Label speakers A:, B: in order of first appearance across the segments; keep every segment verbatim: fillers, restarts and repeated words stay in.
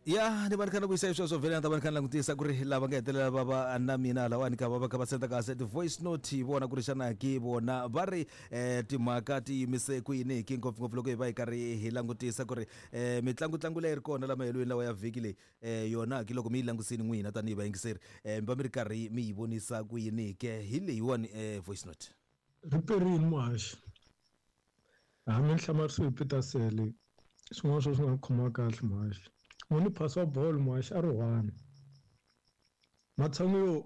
A: Ya ni va ni kha ni vuyisa sweswo vhele ni ta va ni kha ni langutisa ku ri lava nga hetelela va va na mina lawani ka va va kha va senda kahle ti-voice note hi vona ku ri xana ki vona va ri um timhaka ti yimise ku yini ki ngopfungopfu loko hi va hi karhi hi langutisa ku ri um mitlangutlangu leyi ri kona la mahelweni lawa ya vhiki leyi um yona ki loko mi yi langusini n'wina tanihi vayingiseri um mi va mi ri karhi mi yi vonisa ku yini ke hi leyiwani um voice note.
B: Ri perile muhaxi hambi ni hlamarisiwe hi Peter Sele swin'wana swo swi nga khomiwa kahle muhaxi n'wini phasi wa bolo muhaxi a ri one matshan'wi yo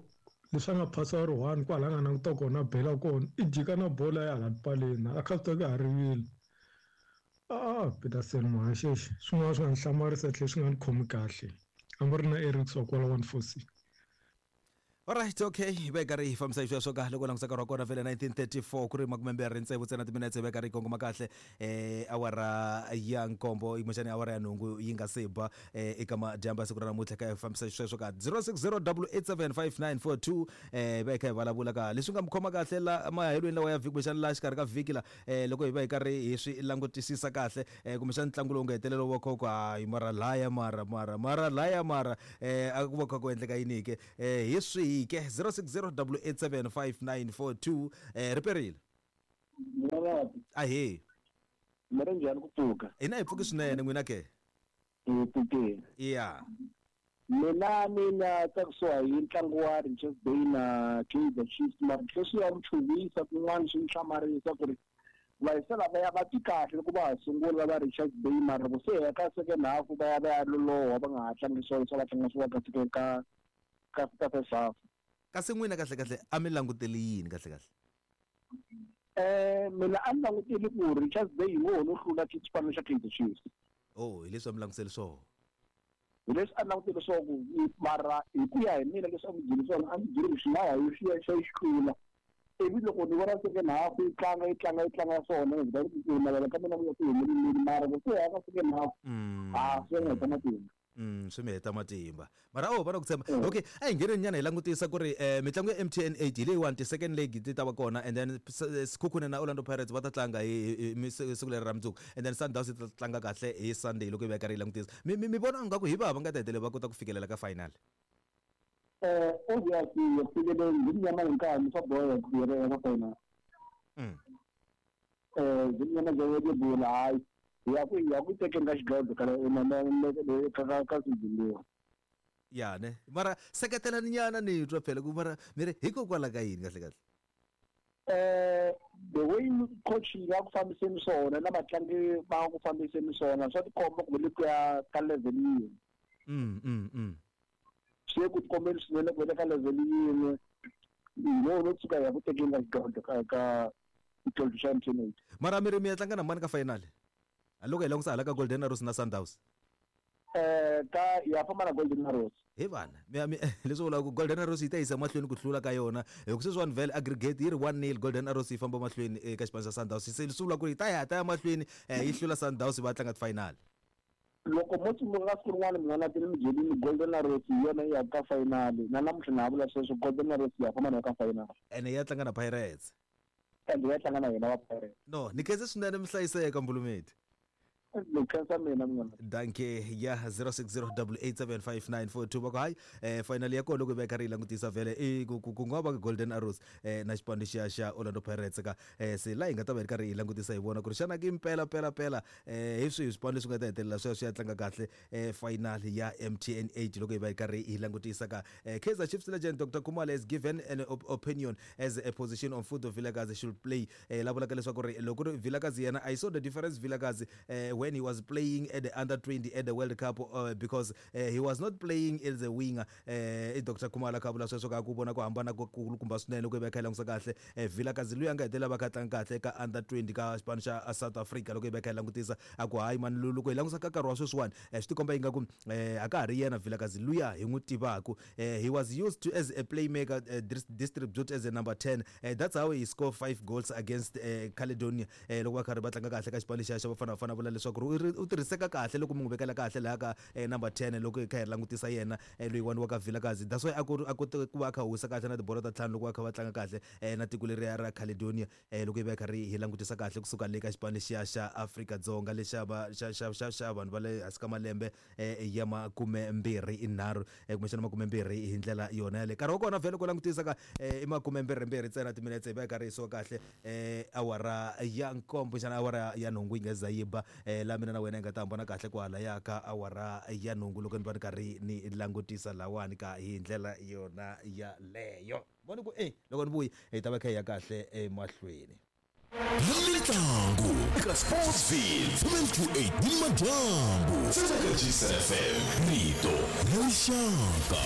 B: leswi a nga phasi a ri one kwala a nga languta kona a bela kona i jika na bolo ya hala tipaleni a kha swi tiva ku ha rivile a Peter Sele muhaxi exi swin'wana swi nga ni hlamarisa tlhela swi nga ni khomi kahle a mi ri na Eric wa kwala one four six.
A: Alright, okay, hi va hi karhi hi fambisa xisweswo ka loko langusa nkarhi wa kona vhele nineteen thirty-four ku ri makumembirhi tsevu ntsena timinetse hi va hi karhi hi kongoma kahle eh awara ya nkombo kumbexani awara ya nhungu yi nga se ba eh eka madyambu ya siku ra namuntlha ka hi fambisa xisweswo ka zero six zero double eight seven five nine four two eh hi va hi kha hi vulavula ka leswi nga mi khoma kahle la mahelweni lawa ya vhiki kumbexani la xikarhi ka vhiki la eh loko hi va hi karhi hi swi langutisisa kahle eh kumbexani ntlangu lowu nga hetelela wa khoko hayi mara laya mara mara mara laya mara eh a ku va kha ku endleka yini ke eh hi swihi ke zero six zero double eight seven five nine four two eh riperile ahee
C: mi ri njhani ku pfuka
A: hina hi pfuki swinene n'wina ke
C: hi pfukile
A: ya
C: mina ni nga tsakisiwa hi ntlangu wa Richards Bay na Kaizer Chiefs mara leswi ya ni chuhisa kun'wana swi ni hlamarisa ku ri vayisa lavaya va ti kahle loko va ha sungula va Richards Bay mara loko se ya ka second half va ya va ya loloha va nga ha tlangi swona swa va tlanga swona ka ka ka ka first half.
A: Kasi n'wina kahle kahle a mi languteli yini kahle kahle?
C: Eh mina a ni languteli ku Richards Bay hi wona no hlula xipano xa Kaizer Chiefs.
A: Oh, hi leswi a mi langutiseli swona.
C: Hi leswi a ni langutele swona ku mara hi ku ya hi mina leswi a mi byeli swona a ndzi byeli ku xi nga ya yi xi ya xi hlula. Ivi loko ni vona second half yi tlanga yi tlanga yi tlanga swona ni va ku navela ka mina ku ya ku humeleleni mara loko se ya ka second half a swi nga heta matimba.
A: Mm swi mi heta matimba mara oh va na ku tshemba. Okay, a hi ngheneni nyana hi langutisa ku ri eh mitlangu ya M T N eight hi leyiwani ti-second leg ti ta va kona and then Sekhukhune na Orlando Pirates va ta tlanga hi siku leri ra mundzuku and then Sundowns yi ta tlanga kahle hi Sunday loko hi va karhi hi langutisa mi mi vona ingaku hi va va nga ta hetelela va kota ku fikelela ka final?
C: Eh obviously ku fikeleni hi nyama hi nkarhi swa boha ku fikelela ka final.
A: Mm
C: eh hi nyama bya bula hayi ya ku ya ku tekeni ka xidlodlo ka ka ka ka season.
A: Ya ne mara seketelani nyana ni twa phela ku mara mi ri hikokwalaho ka yini kahle kahle?
C: Eh the way coach ya ku fambiseni swona na vatlangi va ku fambiseni swona swa tikomba ku le ku ya ka level yin'we.
A: Mm mm mm
C: swi ku tikombeni swinene ku le ka level yin'we no no tshuka ya ku tekeni ka xidlodlo ka ka xidlodlo xa M T N eight.
A: Mara mi ri mi ya tlanga na mani ka final? Loko hi langutisa hala ka Golden Arrows na Sundowns.
C: Eh ka ya famba na Golden Arrows.
A: He vana, mi mi leswi vulaka ku Golden Arrows yi ta yisa mahlweni ku hlula ka yona. Hi ku sweswiwani vhele aggregate yi ri one nil Golden Arrows yi famba mahlweni eka xipano xa Sundowns. Se leswi vulaka ku yi ta ya ta ya mahlweni yi hlula Sundowns va tlanga ti-final.
C: Loko mo tsundzuka siku rin'wana mi nga na tini mi byelini Golden Arrows hi yona yi ya ka final. Na namuntlha na ha vula sweswo Golden Arrows yi ya famba na ka final.
A: Ene ya tlanga na Pirates.
C: Ende ya tlanga na yena wa Pirates.
A: No, ni khense swinene mi hlayiseka Mbulumeti. Danke ya zero six zero double eight seven five nine four two va ku hayi eh final ya kona loko hi va karhi hi langutisa vhele i ku ku nga va Golden Arrows eh na xipano lexiya xa Orlando Pirates ka eh se la hi nga ta va hi karhi hi langutisa hi vona ku ri xana ki mpela pela pela eh hi swihi swipano leswi nga ta hetelela swi ya swi ya tlanga kahle eh final ya M T N eight loko hi va hi karhi hi langutisa ka eh Kaizer Chiefs legend Doctor Khumalo has given an op opinion as a position on Fudo Vilakazi should play eh la vulaka leswaku ri loko ri Vilakazi yena I saw the difference Vilakazi eh when he was playing at the under twenty at the World Cup uh, because uh, he was not playing as a winger. uh, Doctor Khumalo kha vula sweswo ka ku vona ku hambana ku kulukumba swinene loko hi va kha hi langutisa kahle eh, Vilakazi luya nga hetelela va kha tlanga kahle ka under twenty ka xipano xa South Africa loko hi va kha hi langutisa a ku hayi mani loko hi langutisa ka nkarhi wa sweswiwani swi tikomba ingaku eh, a ka ha ri yena Vilakazi luya hi n'wi tivaku. Eh, he was used to as a playmaker, uh, distribute as a number ten. Uh, that's how he scored five goals against uh, Caledonia. Eh, loko va karhi va tlanga kahle ka xipano lexiya xa Bafana Bafana vula leswaku swa ku ri u tirhiseka kahle loko mi n'wi vekela kahle laha ka number ten loko hi kha hi langutisa yena loyiwani wa ka Vilakazi. That's why a ku a kote ku va a kha wisa kahle na tibolo ta ntlhanu loko va kha va tlanga kahle na tiko leriya ra Caledonia loko hi va hi kha ri hi langutisa kahle kusuka le ka xipano lexiya xa Afrika-Dzonga lexa va xa xa xa xa vanhu va le hansi ka malembe ya makumembirhi nharhu kumbexana makumembirhi hi ndlela yona yaleyo. Nkarhi wa kona vhele ku langutisa ka i makumembirhimbirhi ntsena timinetse hi va hi karhi hi suka kahle awara ya nkombo xana awara ya nhungu yi nga za yi ba laha mina na wena hi nga ta hambana kahle kwala ya ka awara ya nhungu loko ni va ni karhi ni langutisa lawani ka hi ndlela yona yaleyo. Voni ku e loko ni vuyi hi ta va kha hi ya kahle emahlweni.
D: Mitlangu eka Sportsville seven two eight ni madyambu G S F M rito ra rixaka.